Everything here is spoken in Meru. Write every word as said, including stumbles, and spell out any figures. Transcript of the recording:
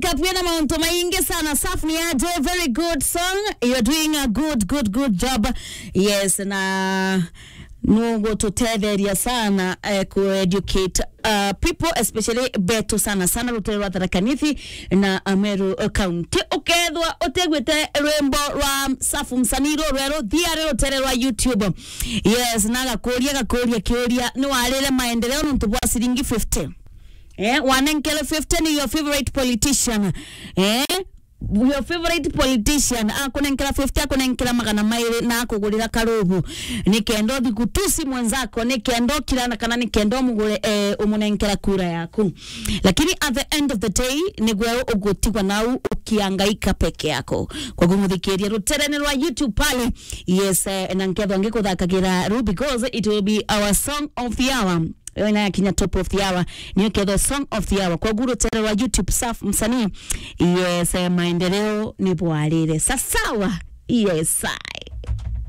Kapu ina mauntu maingi sana. Safu ni aje? Very good song. You're doing a good, good, good job. Yes, na nugututetheria sana, eh, ku educate, uh, people, especially betu sana sana rutere rwa Tharaka Nithi na Ameru County. Ukethwa utegwite rwimbo rwa Safu msanii ru rweru, thiari rutere rwa YouTube. Yes, na gakuria, gakuria kiuria, ni warire maendeleo nontu bwa ciringi fifty? Eh, wanenkere fifty ni your favorite politician. Eh? Your favorite politician akunenkera fifty, akunenkera magana mairi na akugurira karubu, ni kenda uthi kutusi mwenzako, ni kenda ukirana kana ni kenda umugure, eh, umunenkera kura yaku. Lakini at the end of the day, ni gwe ugutigwa nau ukiangaika peke yako. Kwa kumuthikiria ruterene rwa YouTube pale, yes, eh, na nkethwa ngikuthakagira ru because it will be our song of the hour. Yo ina yakinya top of the hour, niyo kethwa song of the hour. Kwa guru tere wa YouTube Safu msanii. Yes, eh, maendeleo ni bwarire. Sasawa. Yes, sir.